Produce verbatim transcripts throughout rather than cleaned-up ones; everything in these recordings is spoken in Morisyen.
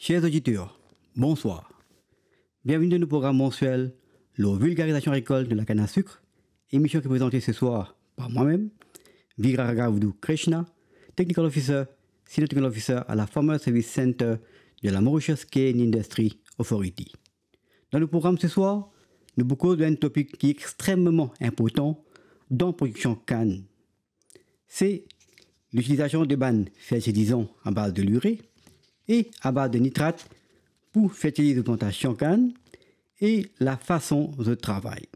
Cher oditer, bonswar. Bienveni dan nou program mansiel lor vilgarizasion rekolt de lakann a sik, emision ki prezante seswar par mwa mem, Viraragavdu Krishna, Technical Officer, Senior Technical Officer à la Farmer Service Centre de la Mauritius Cane Industry Authority. Dan nou program seswar, nou pou koz lor enn topik ki extrememan inportan dan prodiksion kann. Se litilizasion de bann fertilizan a baz de lire e a baz de nitrat pou fertiliz plantasion kann e lafason zot travay.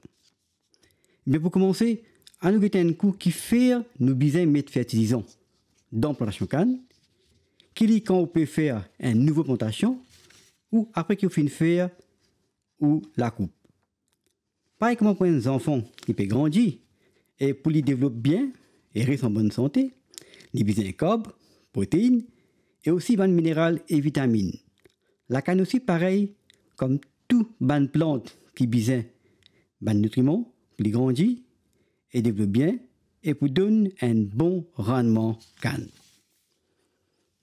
Me pou koumanse, anou gete enn kou kifer nou bizin met fertilizan dan plantasion kann, ki li kan ou pe fer enn nouvo plantasion ou apre ki ou finn fer ou lakoup. Parey kouma pou enn zanfan ki pe grandi e pou li devlop bien e res an bonn sante, li bizin karb, proteinn e osi bann mineral e vitaminn. Lakann osi parey, kom tou bann plant ki bizin bann nitriman pou li grandi e devlop bien e pou donn enn bon rannman kann.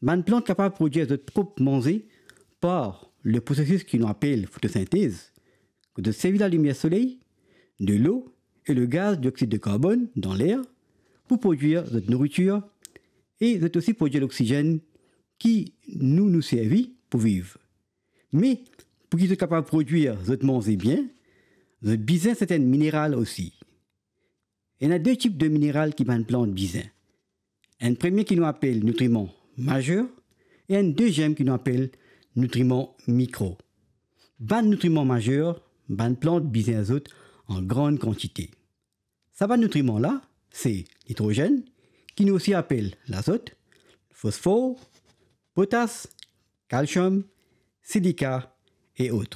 Bann plant kapav prodwir zot prop manze par le prosesis ki nou apel fotosintez, kot zot servi lalimier soley, delo e le gaz dioxid de karbonn dan ler pou prodwir zot nouritir e zot osi prodwir loksizenn ki nou, nou servi pou viv. Me, pou ki zot kapav prodwir zot manze bien, zot bizin sertin mineral osi. Ena de tip de mineral ki bann plant bizin. Enn premie ki nou apel nitriman mazer e enn deziem ki nou apel nitriman mikro. Bann nitriman mazer, bann plant bizin zot an gran kantite. Sa bann nitriman la, se nitrozenn, ki nou osi apel lazot, fosfor, potas, kalsiom, silika e ot.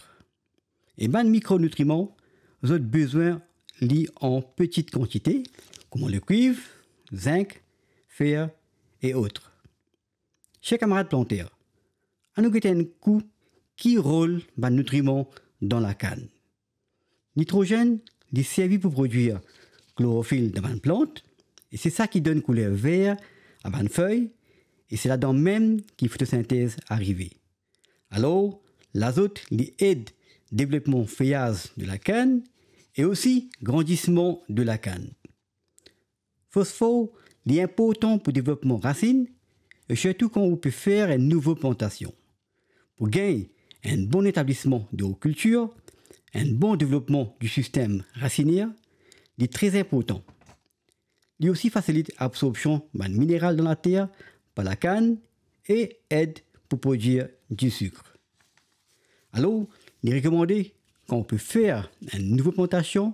E bann mikronitriman, zot bizin li an peti kantite, kouma lekwiv, zink, fer e ot. Cher kamarad planter, anou gete enn kou ki rol bann nitriman dan lakann. Nitrozenn, li servi pou prodwir klorofil dan bann plant, e se sa ki donn kouler ver a bann fey, e se ladan mem ki fotosintez arive. Alor, lazot, li ed devlopman feyaz de lakann e osi grandisman de lakann. Fosfor, li inportan pou devlopman rasinn, e sirtou kan ou pe fer enn nouvo plantasion. Pou gagn enn bon etablisman de kiltir, enn bon devlopman di sistem rasinier, li tre inportan. Li osi fasilit absorbsion bann mineral dan later par lakann e ed pou prodwir disik. Alor, li rekomande, kan ou pe fer enn nouvo plantasion,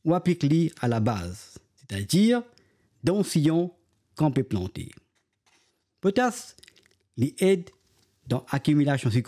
ou aplik li a labaz, setadir dan siyon kan ou pe plante. Potas, li ed dan akimilasion sikroz